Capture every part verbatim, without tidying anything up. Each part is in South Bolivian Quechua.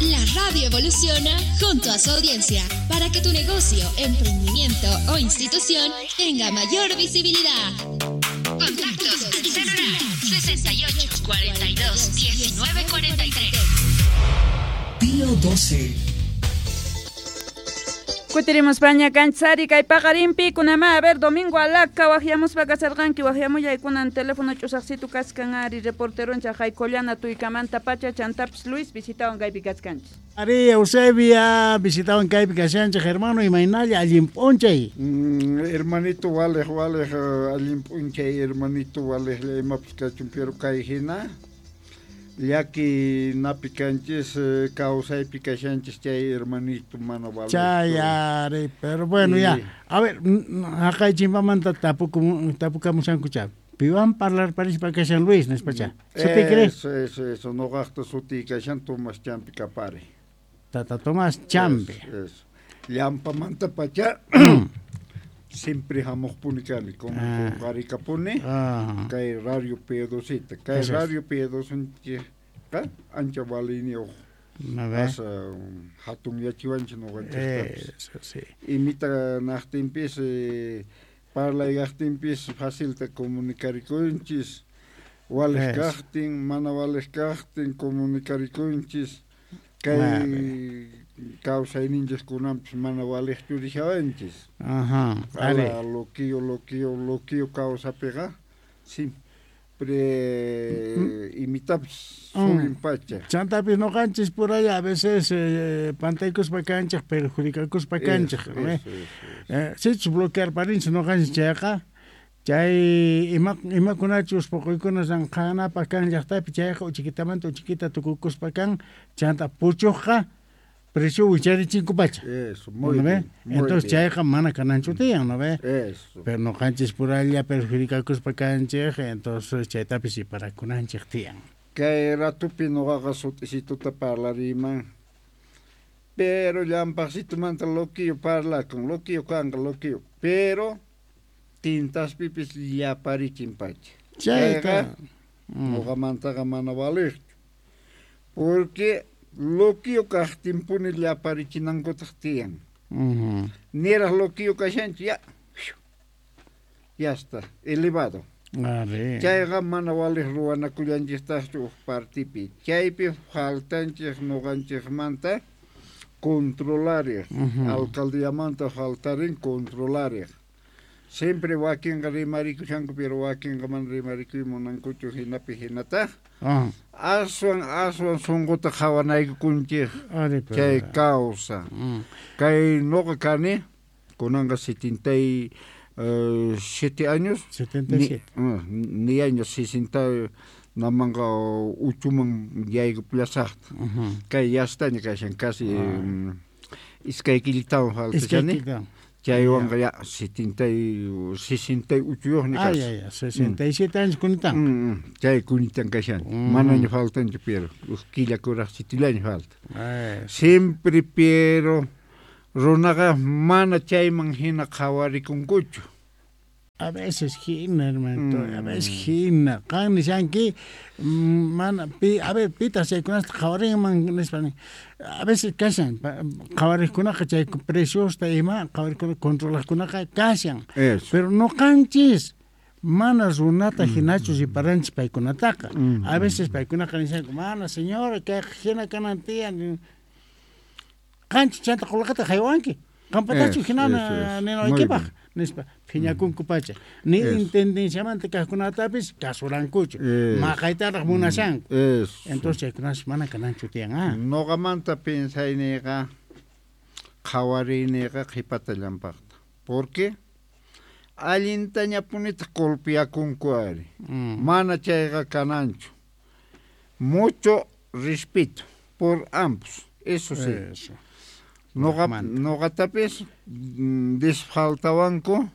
La radio evoluciona junto a su audiencia para que tu negocio, emprendimiento o institución tenga mayor visibilidad. Contactos al celular sesenta y ocho, cuarenta y dos, diecinueve, cuarenta y tres. Pío doce. Kutirimus paña kanchari kay paqarinpi kunama a ver domingo alaka waqyamuspa kasarqanki waqyamuyaykunan teléfono ch'usaqsitu kaskan ari reporteroncha Jaycollana tuykamanta pacha chantapis Luis visitawan kaypi kachkanchis. Ari Eusebia visitawan kaypi kashanchik hermano imaynalla allin p'unchay. Mm, hermanito walej walej allin p'unchay hermanito walej imapas kachun pero kay hina llaki napi kanchis kawsaypi kashanchis chay hermanito mana vale. Chay ari, pero bueno ya. A ver, haqay chimpamanta tapukum tapukamushanku cha. Piwan parlar parispa kashan Luis nispacha. Suti crees? Eso, eso, eso, noqaqta suti kashan Tomás Champi Kapari. Tata Tomás Champi. Eso, eso. Llampamanta pacha siempre hamuqpuni kani con ah. Qarikapuni ah. Kay radio P dosita kay radio P dosinchikqa ancha valiniyuq asa hatun yachiwanchik ñuqanchiktapis. Sí. Imita naqtinpis parlaykaqtinpis facilta comunicarikunchis waliq kaqtin mana waliq kaqtin comunicarikunchis kay kawsayninchis kunanpis mana waliqchu rishawanchis. Ajá, ala loquillo loquillo loquillo kawsapiqa siempre imitapis surin pacha. Chantapis noqanchis por allá a veces eh, pantaykuspa kanchik perjudicakuspa kanchik. Eh, sichus bloquear parinchis noqanchis chayqa chay ima imakunachus poqoykuna ranqanapaq kan llaqtapi chayqa uchikitamanta uchikita tukukuspa kan chanta puchuqqa precio wicharichinkupacha. Eso, muy ¿no ve? Bien, muy entonces bien. Chayqa mana kananchu tiyan, ¿no ve? Eso. Pero noqanchis puralla perjudicakuspa kanchik, entonces chaytapis iparakunanchik tiyan. Kay ratupi noqaqa sut'isituta parlariyman. Pero llampaqsitumanta loquillo parlakun, loquillo kanqa loquillo, pero tintaspipis llaparichinpacha. Chayqa noqamantaqa mana valiqchu. Porque loquillo kaqtinpuni llaparichinankutaq tiyan. Uh-huh. Niraq loquillo kashanchu ya. Ya está, elevado. Ari. Chayqa mana waliq ruwanakullanchiktaqchu huk partipi. Chaypi faltanchik ñuqanchikmanta controlariq. Uh-huh. Alcaldiyamanta faltarin controlariq. Siempre wakinqa rimarikushanku pero wakinqa mana rimarikuy munankuchu hinapi hinataq. Uh-huh. Aswan aswan sunquta qhawanaykukunchik chay kawsa. Mm. Kay nuqa kani kunanqa setenta y siete años. Setenta y siete. Ni, uh, ni años sesenta namanqa uchuman yaykupullasaqta. Uh-huh. Kay yastaña kashan casi Ah. um, iskay killitawan faltashani. Chaywanqa ya setenta y sesenta y uchuyuqña Ah, kashan. ya, ya, sesenta y siete años kunitan. Mm, mm, chay kunitan kashan. Mm. Manaña faltanchu pero uj killa kuraqsitillaña falta. Ay. Siempre pero runaqa mana chayman hina qhawarikunkuchu. A veces hina, hermanito, Mm. a veces hina. Qan nishanki, mana, pi, a ver, pitas chaykunasta qhawarinman nispa nin. A veces kashan, qhawariqkunaqa chay preciosta ima, qhawarikuna controlaqkunaqa kashan. Eso. Pero noqanchis mana runata hinachu riparanchis paykunataqa. Mm. A veces paykunaqa nishanku, mana señora, kay hina kanan tiyan. Qanchu chanta qullqita haywanki. Qampatachu Eso, hina eso, eso. ninaykipaq. Muy bien. Nispa phiñakunku pacha. Ni Eso. intendenciamanta kaqkunatapis kasurankuchu. Eso. Maqaytaraq munashanku. Eso. Entonces chaykunash mana kananchu tiyan, ah. Noqamanta piensayniyqa qhawariyniqa qhipata llampaqta. Porque allintañapunitaq golpeakunku ari. Mm. Mana chayqa kananchu. Mucho respeto por ambos. Eso sí. Eso. Noqa Manta. noqatapis mm, desfaltawanku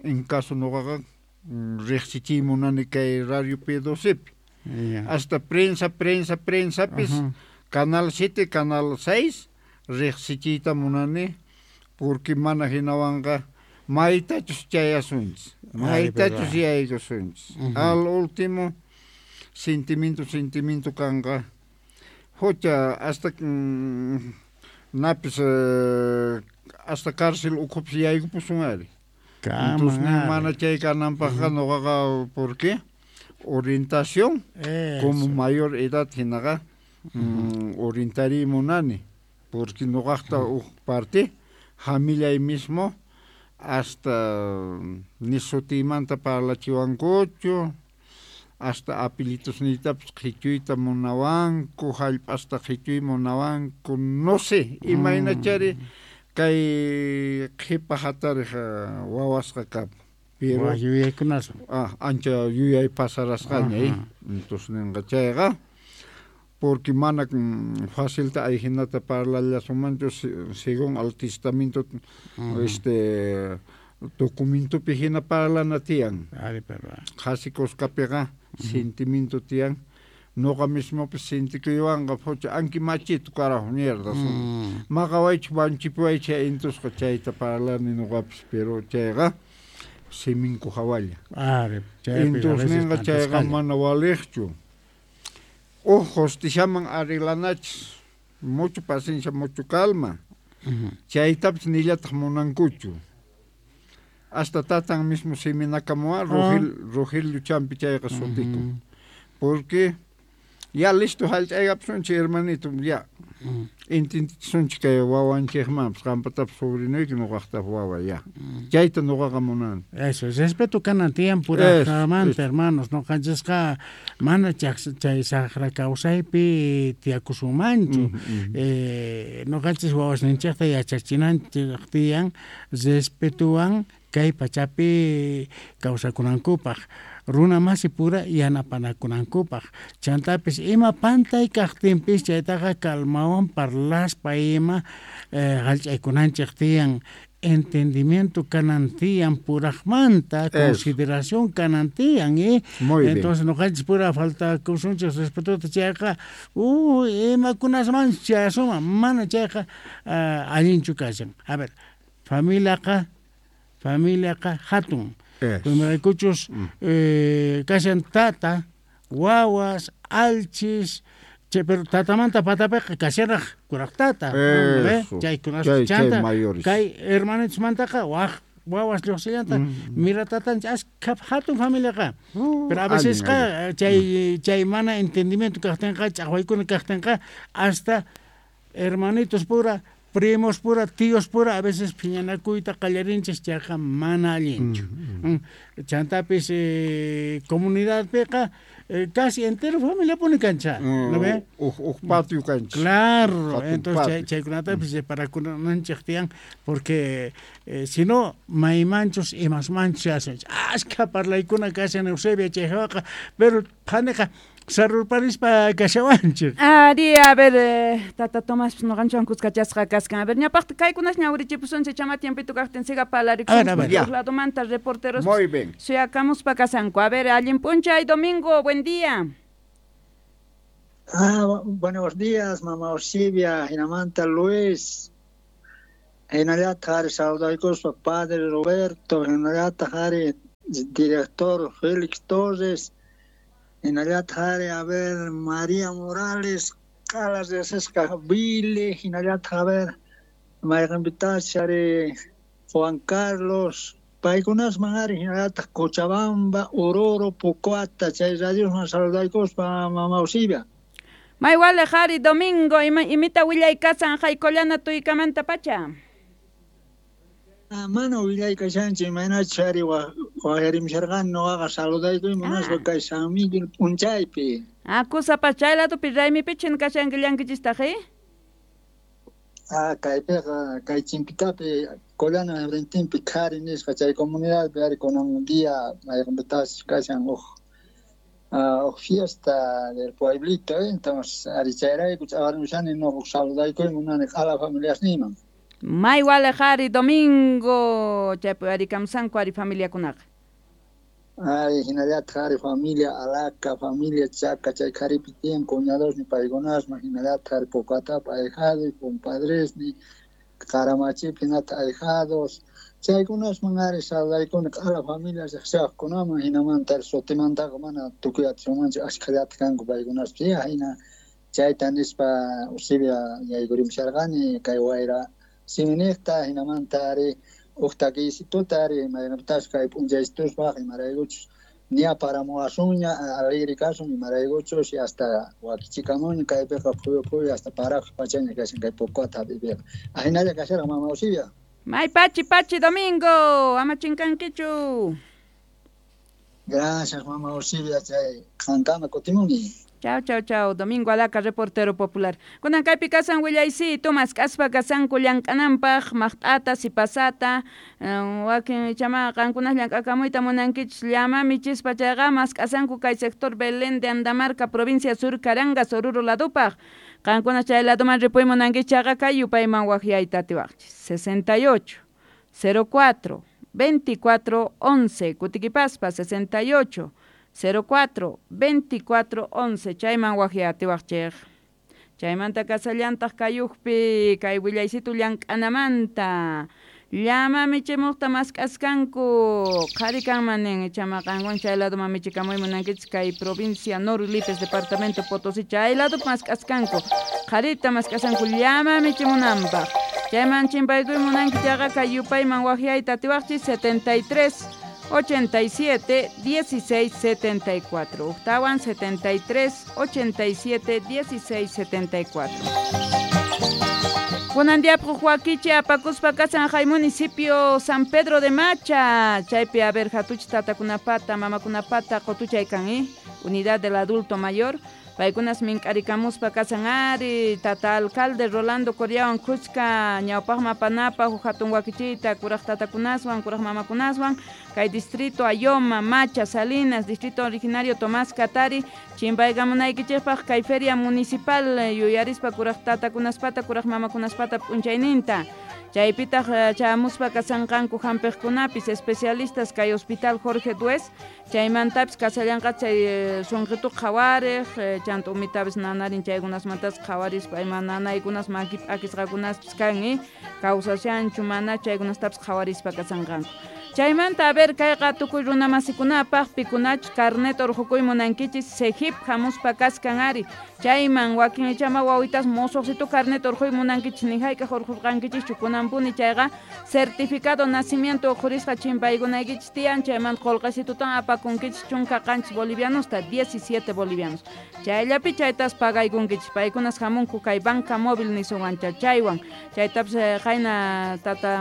en caso noqaqa mm, riqsichiy munani kay radio P docepi. Ya. Hasta prensa, prensa, prensapis Ajá. Canal siete, Canal seis riqsichiyta munani porque mana hinawanqa maytachus chayasunchis, maytachus yaykusunchis. Ujú. Al último sentimiento, sentimiento kanqa Jocha hasta mm, napis eh, hasta cárcel ukhupis yaykupusun ari. Entonces mana chay kananpaqqa noqaqa ¿por qué? Orientación como mayor edad hinaqa mm, orientariy munani porque noqaqta uj parte familiay mismo hasta ni sutiymanta parlachiwankuchu hasta apellitusniytapis qhichuyta munawanku hallp'asta qhichuy munawanku no sé imaynachari kay qhipa hatariq wawasqa kapun pero yuyaykunas ah ancha yuyay pasarasqaña eh entonces ninqa chayqa porque mana facilta ayhinata parlallasunmanchu según al testamento este documentopi hina parlana tiyan qhasi kuskapiqa sentimiento tiyan noqa mismopis sintikuywanqa phucha anki machito carajo mierda maqawaychu wanchipuwaychu entonces chayta parlani noqapis pero chayqa siminku hawalla entonces ninqa chayqa mana waliqchu uj justiciaman arreglanachis mucho paciencia mucho calma chaytapis nillataq munankuchu hasta tatan mismo siminakamuwan Rogel Rogelio Champi chayqa sutikun porque ya listo hallch'aykapusunchik hermanito ya entendichisunchik kay wawanchikmanpis qampatapis sobrinuyki noqaqtapis wawa ya chayta noqaqa munani. Eso, respeto kanan tiyan purajmanta hermanos noqanchisqa mana chay saqra kawsaypi tiyakusunmanchu eh, noqanchis wawasninchikta yachachinanchik tiyan respetuwan kay pachapi kawsakunankupaq runa masi pura yanapanakunankupaq chantapis ima pantay kaqtinpis chaytaqa calmawan parlaspa ima eh, hallch'aykunanchik tiyan entendimiento kanan tiyan purajmanta consideración kanan tiyan eh entonces noqanchis pura faltakusunchik respetota chayqa uy imakunasmanchus chayasuman mana chayqa uh, allinchu kashan. A ver, familiaqa familiaqa hatun imaraykuchus eh, kashan tata wawas alchis che, pero tatamanta patapiqa kashanraq kuraq tata chaykunas chanta kay hermanitusmantaqa waj wawas lluqsillanta mira tatanchik ashka hatun familiaqa pero a vecesqa chay chay mana entendimiento kaqtinqa ch'aqwaykuna kaqtinqa hasta hermanitos pura primos pura, tíos pura, a veces phiñanakuyta qallarinchis chayqa mana allinchu. Chantapis eh, comunidadpiqa eh, casi entero familia puni kancha, ¿no ve? Uj uj patio kancha. Claro, entonces chaykunatapis separakunanchik tiyan porque eh, si no maymanchus imasmanchus hacenchik. Ashka parlaykuna kashan Eusebia chayqa, pero phaniqa sarurparispa kashawanchik. Ari, a ver, eh, tata Tomás noqanchwan kuskachasqa kaskan. A ver, ñapaqta kaykunas ñawrichipusunchik chama tiempito kaqtin siga parlarikusunchik ladomanta reporteros. Muy bien. Suyakamuspa kasanku. A ver, allin p'unchay domingo, buen día. Ah, buenos días, mamá Eusebia, hinamanta Luis. Hinallataq ari saludaykuspa padre Roberto, hinallataq ari director Félix Torres. Hinallataq ari, a ver, María Morales, Calas de Sesca, Billy, hinallataq, a ver, mayqinpitash ari, Juan Carlos, paykunasman ari, hinallataq Cochabamba, Oruro, Pucuata, chay radiosman saludaykuspa, mamá Eusebia. May waliq ari, domingo, ima, imita willaykasan haykollana tuykamanta pacha. Ah, mana willaykashanchik imaynachus ari waqyarimsharqani noqaqa saludaykuy munaspa kay San Miguel p'unchaypi. Ah, kusapas chay ladopi raymipichhin kashanki llankichistaq, eh? Ah, kaypiqa kay chimpitapi Collana rentinpi qhari nisqa chay comunidadpi ari kunan día mayqinpitas kashan uj uh, uj fiesta del pueblito, eh? Entonces ari chayrayku ch'aqarimushani noqa saludaykuy munani q'ala familiasniyman. May waliq ari domingo chaypi ari kamsanku ari familiakunaqa. Ay, hinallataq ari familia Alaca, familia Chaca, chay qharipi tiyan cuñadosni paykunasman, hinallataq ari Pucatapa ahijados, compadresni, Qaramachipi hinata ahijados, chaykunasman ari saludaykuna q'ala familia riqsiwaqkunaman, hinamanta ari sutimantaqa mana tukuy atisunmanchu ashkhallata kanku paykunaspi, hina Chayta nispa Eusebia yaykurimusharqani kay wayra siminiqta hinamanta ari uj takiycituta ari imaynapitachus kay p'unchaycituspaq imaraykuchus ña paramuwasunña alegre kasun imaraykuchus hasta wakichikamuña kaypiqa phuyu phuyu hasta paraq pachaña kashan kay Pocota hap'iypiqa ahinalla kasharqa mama Eusebia. May pachi pachi Domingo, ama chinkankichu. Gracias mama Eusebia, chay qankama kutimuni. Chao, chao, chao. Domingo Alaca, reportero popular. Kunan kaypi kasan willaycito, mask'aspa kasanku llank'ananpaq, maqt'ata, sipasata, wakin chama qankunas llank'akamuyta munankichis llama michispa chayqa mask'asanku kay sector Belén de Andamarca, provincia Sur Carangas, Oruro ladupaq. Qankunas chay laduman ripuy munankichis chayqa kay yupayman waqyayta atiwaqchis. sesenta y ocho, cero cuatro, veinticuatro, once, Kutikipaspa, sesenta y ocho, cero cuatro, veinticuatro, once, chayman waqyatiwaqchej. Chaymanta kasallantaq kayuqpi kay willaysitu llank'anamanta llama michimuqta mask'askanku qhari kanman nin chama qanwan chay laduman michikamuy munankichis kay provincia Nor Lipes departamento Potosí chay ladupi mask'askanku qharita mask'asanku llama michimunanpaq chayman chimpaykuy munanki chayqa kay yupayman waqyayta atiwaqchis setenta y tres ochenta y siete, dieciséis, setenta y cuatro. Octawan setenta y tres, ochenta y siete, dieciséis, setenta y cuatro. Kunan diapju Joaquiche apakuspa kasan hay municipio San Pedro de Macha. Chaypi a ver hatuch tatakunapata, mamakunapata, qotuchay kan, eh? Unidad del adulto mayor. Paykunas mink'arikamuspa kasan ari, tata alcalde Rolando Coriawan kuchka, ñawpaqma panapa, hatun wakichiyta, kuraq tatakunaswan, kuraq mamakunaswan, kay distrito Ayoma, Macha, Salinas, distrito originario Tomás Katari, chimpaykamunaykichikpaq kay feria municipal yuyarispa kuraq tatakunaspata, kuraq mamakunaspata p'unchayninta. Chaypitaq chamuspa kasanqanku hampiqkunapis especialistas kay hospital Jorge Duez, chaymantapis kasallanqa chay sunqituq qhawariq, chanta umitapis nanarin chaykunasmantas qhawarispa ima nanaykunas maki p'akisqakunaspis kan, eh? Kawsashanchu mana chaykunastapis qhawarispa kasanqanku. Chaymanta a ver kayqa tukuy runamasikunapaq pikunachus carnet urqukuy munankichis Sejip hamuspa kaskan ari chayman wakin ichama wawitas mosoqsitu carnet urquy munankichis ni hayk'aq urqurqankichischu kunanpuni chayqa certificado nacimiento uqhurisqa chimpaykunaykichis tiyan chayman qullqisitutan apakunkichis chunka qanchis bolivianosta diecisiete bolivianos chayllapi chaytas pagaykunkichis paykunas hamunku kay banca móvil nisuwancha chaywan chaytapis qayna tata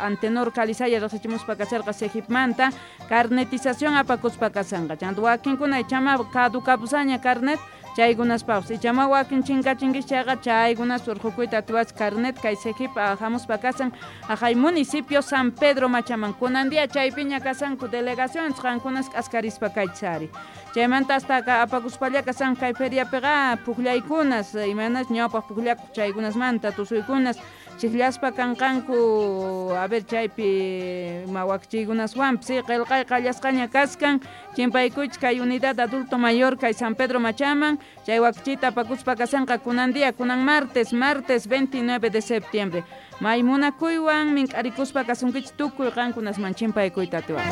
Antenor Calizaya riqsichimuspa kasarqa Sejipmanta carnetización apakuspa kasanqa chanta wakinkuna ichama caducapusaña carnet chaykunaspaqpis ichama wakin chinkachinkis chayqa chaykunas urqukuyta atiwachis carnet kay Sejip hamuspa kasan aqhay municipio San Pedro Machaman kunan día chaypiña kasanku delegaciones qankunas k'askarispa kaychis ari chaymanta hasta apakuspalla kasan kay feriapiqa puqllaykunas imaynas ñawpaq puqllakuq chaykunasmanta tusuykunas chiqllaspa kanqanku a ver chaypi ima wakichiykunaswanpis qillqay qallasqaña kaskan chimpaykuychis kay unidad adulto mayor kay San Pedro Machaman chay wakichiyta apakuspa kasanqa kunan día kunan martes martes veintinueve de septiembre may munakuywan mink'arikuspa kasunkichis tukuy qankunasman chimpaykuyta atiwaq.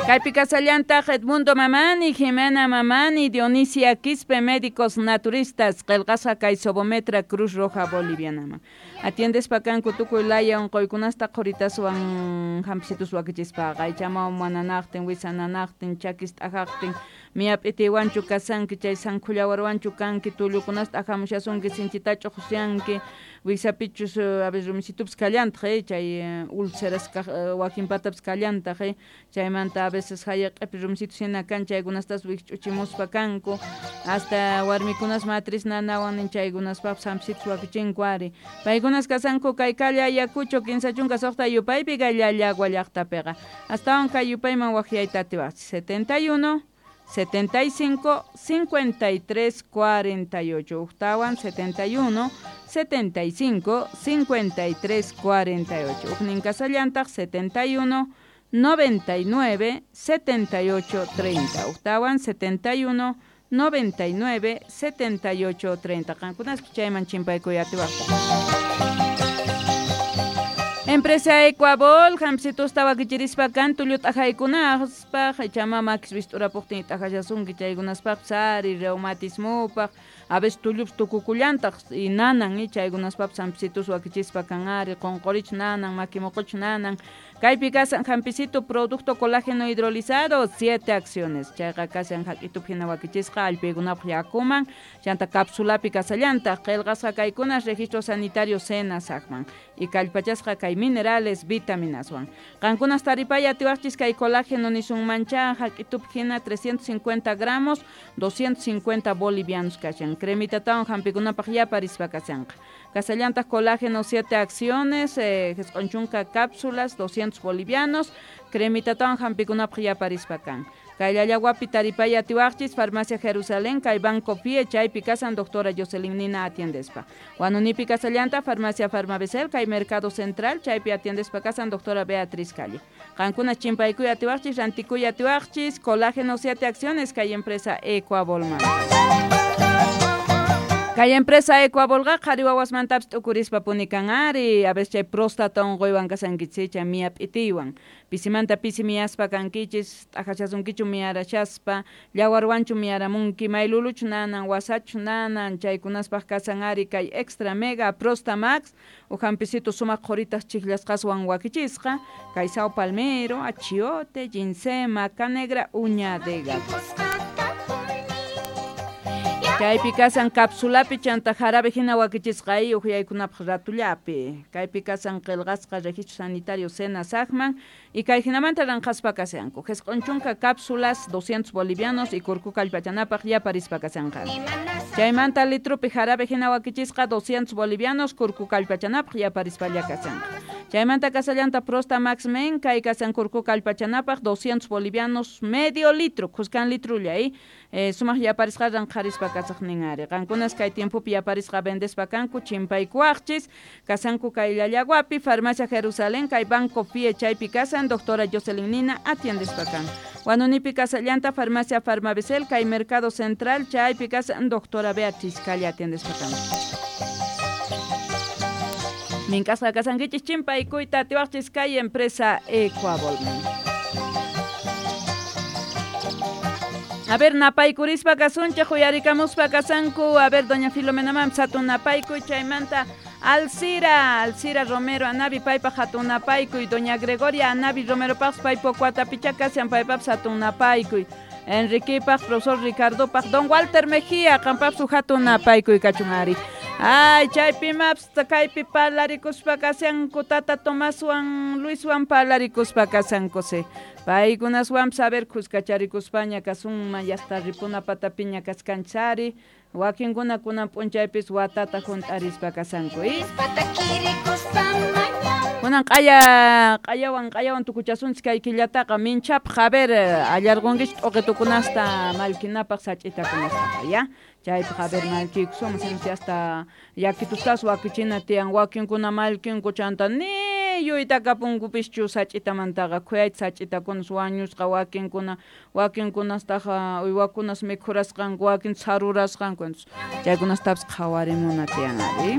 Kaypi kasallantaq Edmundo Mamani, Jimena Mamani, Dionisia Quispe, médicos naturistas, qillqasqa kay Sobometra Cruz Roja Bolivianaman. Atiendespa kanku tukuy laya unquykunasta qhuritaswan hampisitus wakichispaqa, ichama mananaqtin, wisananaqtin, chakis t'ajaqtin, miyap'itiwanchu kasanki, chay sankhullawarwanchu kanki, tullukunasta ajamushasunki, sinchita ch'uqusyanki, wiksapichus a veces rumisitupis kallantaq, eh, chay úlceras wakinpatapis kallantaq, eh, chaymanta a veces hayaq'ipi rumisitus hina kan chaykunastas wikch'uchimuspa kanku, hasta warmikunas matriz nanawan nin chaykunaspaqpis hampisitus wakichinku ari. Paykunas kasanku kay calle Ayacucho kinsa chunka suqta yupaypi kay Llallagua llaqtapiqa. Astawan kay yupayman waqyayta atiwaqchis setenta y uno, setenta y cinco, cincuenta y tres, cuarenta y ocho. Octawan setenta y uno, setenta y cinco, cincuenta y tres, cuarenta y ocho. Ujnin kasallantaq setenta y uno, noventa y nueve, setenta y ocho, treinta. Octawan setenta y uno, noventa y nueve, setenta y ocho, treinta. Qankunas chayman chimpaykuy atiwaqta. Empresa Ecuabol, hampisitus wakichirispa kan tullu t'ajaykunapaq, ichama makis wist'urapuqtin t'ajashasunki chaykunaspaq ari reumatismupaq, a veces tullupis tukukullantaq y nanan y chaykunaspapis hampisitus wakichispa kan ari qonqorich nanan, makimoqoch nanan. Kaypi kasan hampisito producto colágeno hidrolizado, siete acciones. Chayqa kasan hak'itup hina wakichisqa allpaykunapaq yakuman, chanta capsulapi kasallantaq, qillqasqa kaykunas registro sanitario SENASACman y kallpachasqa kay minerales, vitaminaswan. Qankunas taripay atiwaqchis kay colágeno nisunmancha hak'itup hina trescientos cincuenta gramos, doscientos cincuenta bolivianos kashan. Cremitatawan hampikunapaq yaparispa kashanqa. Kasallantaq colágeno siete acciones, eh, chunka cápsulas, doscientos bolivianos, cremitatawan hampikunapaq yaparispa kan. Kay Llallawapi taripay atiwaqchis, Farmacia Jerusalén, kay Banco Fie, chaypi kasan doctora Jocelyn Nina atiendespa. Huanunipi kasallanta, Farmacia Farmabesel, kay Mercado Central, chaypi atiendespa kasan doctora Beatriz Calle. Qankuna chimpaykuy atiwaqchis, rantikuy atiwaqchis, colágeno siete acciones, kay empresa Ecuabolman. Kay empresa Ecuabolqa qhari wawasmantapis t'ukurispa punikan ari, a veces chay próstata unquywan kasankichis, chay miya p'itiywan. Pisimanta pisi miyaspa kankichis, t'ajashasunkichu miyarashaspa, llawarwanchu miyaramunki, mayluluchu nanan, wasachu nanan, chaykunaspaq kasan ari kay Extra Mega Prosta Max, uj hampisito sumaq qhuritas chijllasqaswan wakichisqa, kay sao palmero, achiote, ginseng, maca negra, uña de gato. Kaypi kasan capsulapi chanta jarabe hina wakichisqa ay uhyaykunapaq ratullapi. Kaypi kasan qillqasqa registro sanitario SENASACman y kay hinamanta ranqaspa kasanku. Jisq'un chunka cápsulas doscientos bolivianos y kurku kallpachanapaq yaparispa kasanqa. Chaymanta litrupi jarabe hina wakichisqa doscientos bolivianos kurku kallpachanapaq yaparispalla kasanqa. Chaymanta kasallanta Prosta Max Men kay kasan kurku kallpachanapaq doscientos bolivianos medio litro, khuskan litrulla y eh, sumaq yaparisqa ranqarispa kasaqnin ari. Qankunas kay tiempopi yaparisqa vendespa kanku chimpaykuwaqchis, kasanku kay Llallawapi, Farmacia Jerusalén, kay Banco Fie chaypi kasan doctora Jocelyn Nina atiendespa kan. Huanunipi kasallanta Farmacia Farmabesel, kay Mercado Central chaypi kasan doctora Beatriz Calle atiendespa kan. Minkasqa kasankichis chimpaykuyta atiwaqchis kay empresa Ecuabolman. A ver, napaykurispa kasunchej, uyarikamuspa kasanku. A ver, doña Filomena mam, hatun napaykuy, chaymanta Alcira, Alcira Romero, Anabi paypaq hatun napaykuy, doña Gregoria Anabi Romero paq paypo kuatapicha kasian paypaq hatun napaykuy. Enriquepaq, profesor Ricardopaq, don Walter Mejía, qampaq su hatun napaykuy kachun ari. Ay, chaypi maps, kaypi parlarikuspa kasanku, tata Tomaswan, Luiswan parlarikuspa kasanku se. Paykunaswan saber kuskacharikuspaña kasunman yasta ripuna patapiña kaskanchari, wakinkuna kunan p'unchaypis watata junt'arispa kasanku, ¿eh? Kunan q'aya q'ayawan q'ayawan tukuchasunchis kay killataqa minchapaq, a ver, allarqunkichis t'uqitukunasta mallkinapaq sach'itakunastaqa, ya? Chaypaq a ver mallkiykusuman, sino hasta yakitustas wakichina tiyan, wakinkuna mallkinku chanta ni yuytakapunkupischu sach'itamantaqa, khuyayta sach'itakunas wañusqa wakinkuna, wakinkunastaqa uywakunas mikhurasqanku, wakin sarurasqanku, chaykunastapis qhawarimuna tiyan ari.